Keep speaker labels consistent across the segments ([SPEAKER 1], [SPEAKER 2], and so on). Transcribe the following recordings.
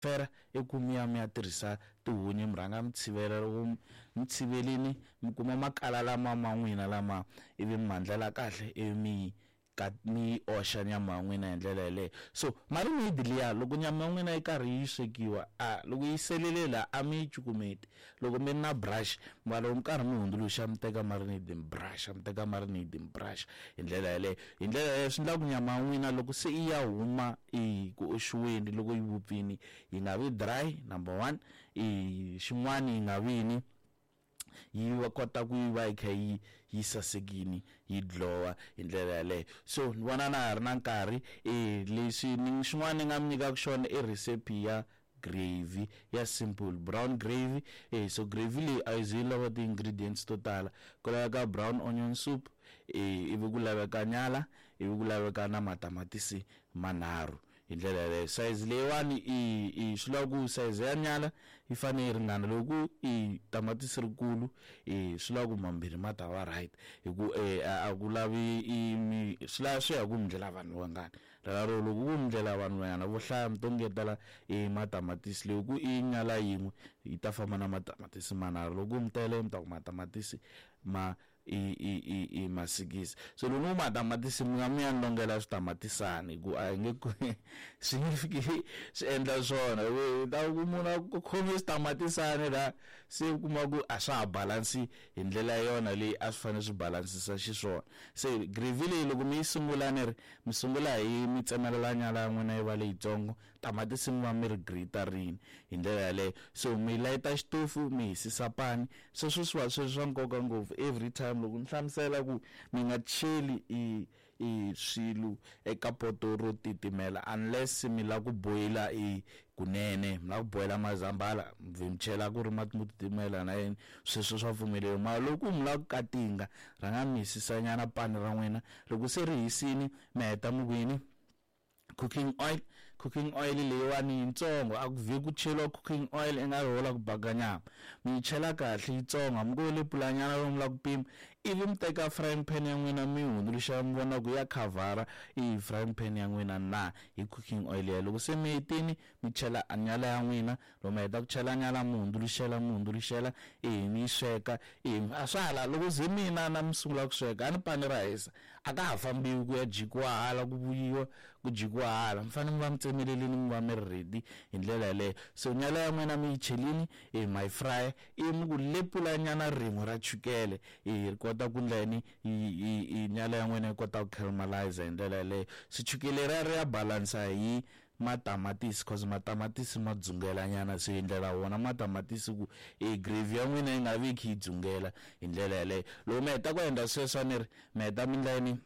[SPEAKER 1] Fera i ku mi ya mi ya tirhisa tihunyi mi rhanga mi tshivela loko mi tshivelini mi kuma makala lama ma n'wina lama ivi mi ma ndlela kahle ivi mi ka mi yi oxa nyama ya n'wina hi ndlela yeleyo. So marinade liya loko nyama ya n'wina yi karhi yi swekiwa a loko yi selele la a mi yi cukumeti loko mi ri na brush mara loko mi karhi mi hundzuluxa mi teka marinade mi brush mi teka marinade mi brush hi ndlela yeleyo. Hi ndlela yeleyo swi endla ku nyama ya n'wina loko se yi ya huma i ku oxiweni loko yi vupfini yi nga vi dry number one i xin'wani yi nga vi yini yi va kota ku yi va yi kha yi yi sasekini yi glow-a hi ndlela yaleyo. So ni vona na ha ri na nkarhi leswi ni xin'wana ni nga mi nyikaka xona i recipe ya gravy ya simple brown gravy. So gravy leyi a yi ze yi lava ti-ingredients to tala ku laveka brown onion soup ivi ku laveka nyala ivi ku laveka na matamatisi manharhu hi ndlela yaleyo. Size leyiwani i i swi lava ku size ya nyala yi fanele yi ringana loko ku i tamatisi rikulu i swi lava ku mambirhi ma ta va right hi ku a ku lavi i mi swi lava swi ya hi ku mi ndlela vanhu vangani. Rero loko ku mi ndlela vanhu vanyana vo hlaya mi to ngetela i matamatisi loko ku i nyala yin'we yi ta famba na matamatisi manharhu loko ku mi tele mi ta ku matamatisi ma i i i i masikisi. So loko ni ku matamatisi mi nga mi ya ni longela switamatisani hi ku a hi nge swi nge fiki swi endla swona hi ta ku munhu a ku khome switamatisani la se u kuma ku a swa ha balansi hi ndlela yona leyi a swi fanele swi balansisa xiswona. Se gravy leyi loko mi yi sungula ni ri mi sungula hi mi tsemelela nyala ya n'wina yi va leyitsongo tamatisi mi va mi ri grate-rini hi ndlela yaleyo. So mi layita xitofu mi hisisa pani sweswo swi va swi ri swa nkoka ngopfu every time loko ni hlamusela ku mi nga cheli i i swilo eka poto ro titimela unless mi lava ku boyila i kunene mi lava ku boyila mazambhala mi chela ku ri mati mo titimela na yini sweswo swa pfumeleriwa mara loko mi lava ku katinga rhanga mi hisisa nyana pani ra n'wina loko se ri hisini mi heta mi ku yini cooking oil. Cooking oil leyiwani yitsongo a ku vhe ku cheriwa cooking oil i nga ri ho la ku baka nyama mi yi chela kahle yitsongo hambi ku le pulanyana lomu la ku pima ivi mi teka frying pan ya n'wina mi yi hundzuluxa mi vona ku ya khavhara i frying pan ya n'wina na hi cooking oil ya loko se mi hetini mi chela nyala ya n'wina loko mi heta ku chela nyala mi hundzuluxela mi hundzuluxela ivi mi yi sweka ivi a swa hala loko ze mina na mi sungula ku sweka a ni pani ra hisa a ka ha fambiwi ku ya jikiwa hala ku vuyiwa ku jikiwa hala mi fanele mi va mi tsemelelini mi va mi ri ready hi ndlela yaleyo. So nyala ya n'wina mi yi chelini i ma yi fry ivi mi ku lepula nyana rin'we ra chukele i ri kota ku ndla yini i nyala ya n'wina yi kota ku caramelize hi ndlela yaleyo. Se chukele leriya ri ya balansa hi matamatisi cause matamatisi ma dzungela nyana se hi ndlela wona matamatisi ku e gravy ya n'wina yi nga vi yi kha yi dzungela hi ndlela yaleyo. Loko mi heta ku endla sweswo a ni ri mi heta mi ndla yini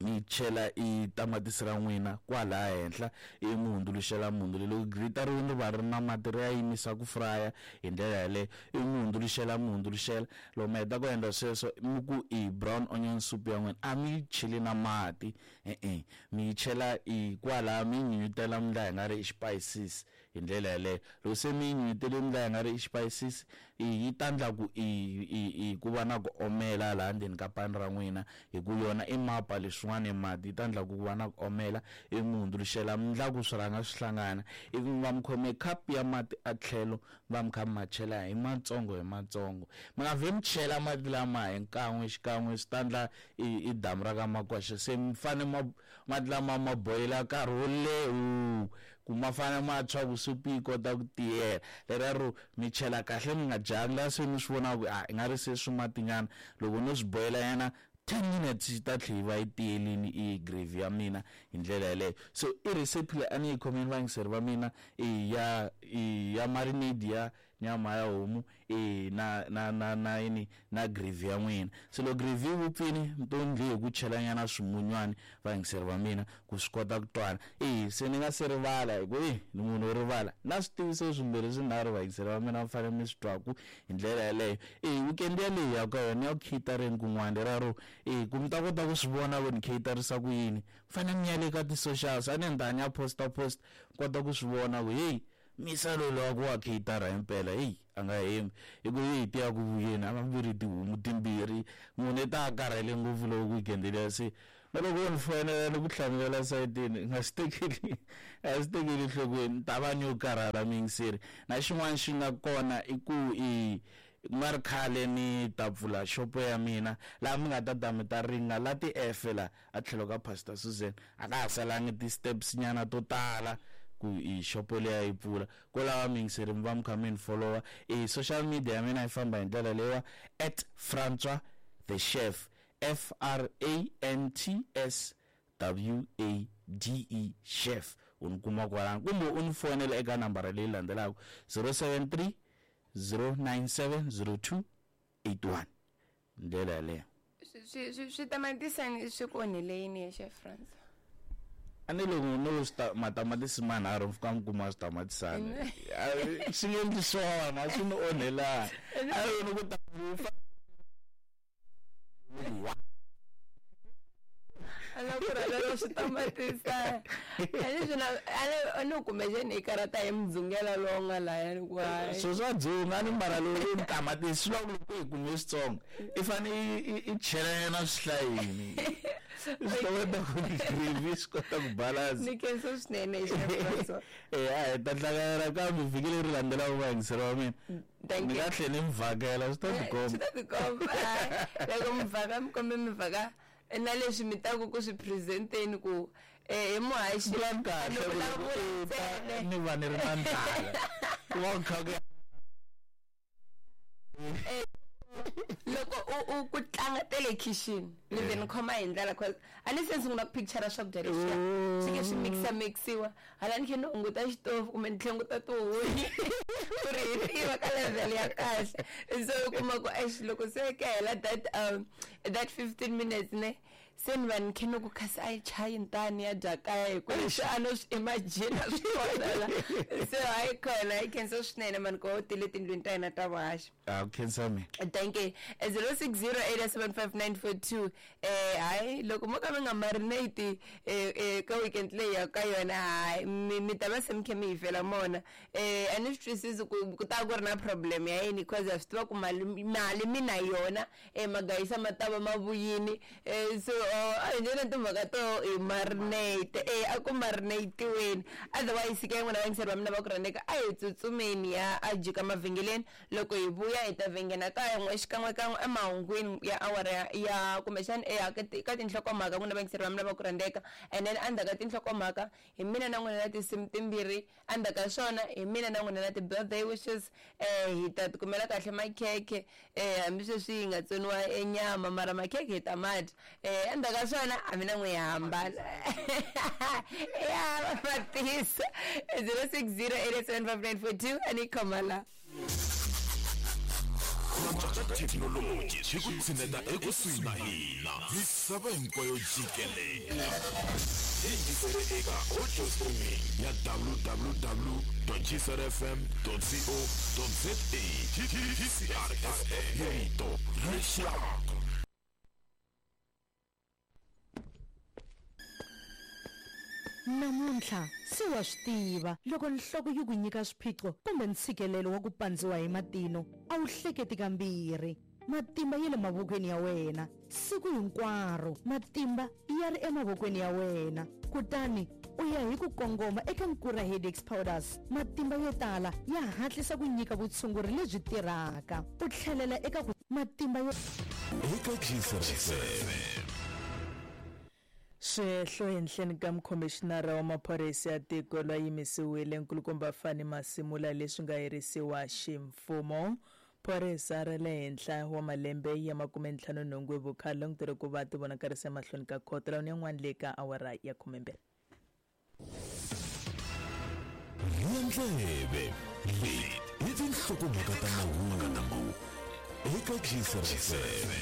[SPEAKER 1] mi chela i tamatisi ra n'wina kwalaya henhla ivi mi hundzuluxela mi hundzuluxela loko grita ri ri va ri na mati ri ya yimisa ku furaya hi ndlela yaleyo ivi mi hundzuluxela mi hundzuluxela loko mi heta ku endla sweswo mi ku i brown onion soup ya n'wina a mi yi cheli na mati e-e mi yi chela i kwalaya mi yi nyunyutela mi ndla hi nga ri i xipayisisi hi ndlela yaleyo. Loko se mi yi nyunyutele mi ndla hi nga ri i xipayisisi yi ta ndla ku i i i ku va na ku omela laha ndzeni ka pani ra n'wina hi ku yona i mapa leswin'wana i mati yi ta ndla ku va na ku omela ivi mi hundzuluxela mi ndla ku swi rhanga swi hlangana ivi mi va mi khome cup ya mati a tlhelo mi va mi kha mi ma chela hi matsongo hi matsongo mi nga vhe mi chela mati lama hi nkan'we xikan'we swi ta ndla i i damu ra ka Makwasha se mi fane ma mati lama ma boyila nkarhi wo leha ku ma fane ma tshwa ku supu yi kota ku tiyela leriya ro mi chela kahle mi nga jahangi la se mi swi vonaka ku a i nga ri se swi matinyana loko no swi boyela nyana 10 minutes yi ta tlhela yi va yi tiyelini i gravy ya mina hi ndlela yaleyo. So i recipe leyi a ni yi khomeni vayingiseri va mina i ya i ya marinade ya nyama ya homu e na na na na yini na gravy ya n'wina. Se loko gravy yi vupfini mi to ndli hi ku chela nyana swimunywani vayingiseri va mina ku swi kota ku twana. E se ni nga se rivala hi ku e ni munhu wo rivala na switiviso swimbirhi swinharhu vayingiseri va mina mi fanele mi swi twaku hi ndlela yaleyo. E weekend yaleyi hi ya ka yona ya ku catereni kun'wana leriya ro e ku mi ta kota ku swi vona ku ni caterisa ku yini mi fanele mi ya le ka ti-socials a ni ni ta ni ya posta post kota ku swi vona ku heyi misa loyi lowa ku wa cater himpela heyi a nga hembi hi ku heyi ti ya ku vuyeni a va vuri tihomu timbirhi munhu i ta a karhele ngopfu loko weekend liya se na loko wo ni foyinela ni ku hlamulela sayitini i nga swi tekeli A swi tekeli enhlokweni, ni ta va ni yo karhala muyingiseri. Na xin'wana xi nga kona i ku i ku nga ri khale ni ta pfula xopo ya mina laha mi nga ta ta mi ta ringa la ti-efe la a tlhelo ka Pastor Susan. A ka ha salangi ti-steps nyana to tala ku i xopo liya yi pfula. Ko lava muyingiseri mi va mi kha mi ni follower. E social media ya mina yi famba hi ndlela leyiwa, at Francois the Chef, F R A N T S W A D E Chef. U ni kuma kwalano kumbe u ni fonela eka nambara leyi landzelaka, 073 097 0281. Ndlela yaleyo.
[SPEAKER 2] Switamatisi swi ku onhele yini ya Chef Francois?
[SPEAKER 1] A ni loko no matamatisi manharhu mi fika mi kuma switamatisani, swi nge endli swona, swi ni onhelani. A ni ku ta
[SPEAKER 2] a la ku rhwala switamatisa a ni swi na a ni kumbexani i karata hi mudzungela lowu nga laya ni ku hayi.
[SPEAKER 1] Swo swa dzunga ni mara lowu ni tamatisi swi lava ku loko hi kume switsongo i fane i chelela swihlayini swi ta kota ku gravy swi kota ku balance.
[SPEAKER 2] Ni khensa swinene Chef.
[SPEAKER 1] Eh, a hi ta hlangana kambe vhiki leri landzelaka, vayingiseri va mina.
[SPEAKER 2] Thank
[SPEAKER 1] Ni
[SPEAKER 2] you.
[SPEAKER 1] nga tlhela ni mi vhakela, swi ta tikomba.
[SPEAKER 2] Swi ta tikomba. Loko mi vhaka, mi kombe mi vhaka na leswi mi taku ku swi presenteni ku hi muhaxi.
[SPEAKER 1] Plan kahle
[SPEAKER 2] Ni
[SPEAKER 1] ku
[SPEAKER 2] vulavula
[SPEAKER 1] loko
[SPEAKER 2] ntsena.
[SPEAKER 1] ni va ni ri na ndlala, ku va ku kha ku
[SPEAKER 2] Loko u ku tlanga tele kitchen, ni ve ni khoma hi ndlela, cause a ni se ni sungula ku picture swakudya leswiya swi ke swi mixa mixiwa hala, ni khe ni hunguta xitofu kumbe ni tlhenguta tihunyi ku ri hi tiva ka level ya kahle. So u kuma ku eish, loko se ka hela that 15 minutes ne, se ni va ni khe ni ku kasi a yi chayi ntani ya dya kaya, hi ku leswi a no swi imagine swi kona la. So hayi khona, hi khensa swinene mani ku va u tile tindlwini ta hina ta vuhaxi.
[SPEAKER 1] A ku khensa mina.
[SPEAKER 2] Thank you. 06087594. Hayi, loko mo ka mi nga marinate ka weekend leyi ya ka yona, hayi, mi ta va se mi khe mi hi fela mona. A ni swi twisisi ku ta ku ri na problem ya yini, because ha swi tiva ku mali mi na yona, magayisa ma ta va ma vuyini. So a hi ndlela timhaka to hi marinate, a ku marinatiweni. Otherwise ke n'wina vayingiseri va mina va ku rhandzeka, a hi tsutsumeni ya a jika mavhengeleni. Loko hi vuya hi ta vhengena kaya n'we xikan'wekan'we emahungwini ya awara ya kumbexani ka tinhlokomhaka, n'wina vayingiseri va mina va ku rhandzeka. And then endzhaku ka tinhlokomhaka hi mina na n'wina na tinsimu timbirhi, endzhaku ka swona hi mina na n'wina na ti-birthday wishes. Hi ta tikumela kahle makhekhe, hambi sweswi yi nga tsoniwa enyama, mara makhekhe hi ta ma dya. Endzhaku ka swona a mina n'we hi hambana ya va matisa. 06087594 a ni khoma la.
[SPEAKER 3] Thekinoloji swi ku tshineta ekusuhi na hina misava hinkwayo jikelele. Yingisele eka audio streaming ya www gcrfm co za. GCR FM, rito ra rixaka.
[SPEAKER 4] Namuntlha se wa swi tiva, loko nhloko yi ku nyika swiphiqo kumbe ntshikelelo wa ku pandziwa hi matino, a wu hleketi kambirhi. Matimba ya le mavokweni ya wena siku hinkwaro, matimba ya ri emavokweni ya wena. Kutani u ya hi ku kongoma eka Nkura Headaches Powders. Matimba yo tala ya hatlisa ku nyika vutshunguri lebyi tirhaka, u tlhelela eka ku matimba yo
[SPEAKER 3] eka GCR.
[SPEAKER 5] Swihehlo henhleni ka mukhomixinara wa maphorisa ya tiko lwa yimisiwile, nkulukumba Fani Masimula, leswi nga herisiwa ximfumo. Phorisa ra le henhla wa malembe ya 58 hi vukhale langutele ku va tivonakarisa emahlweni ka khoto lawuni yan'wana le ka awara ya 12.
[SPEAKER 3] Rhiya ndleve, leti i tinhlokomhaka ta mahungu eka GCR.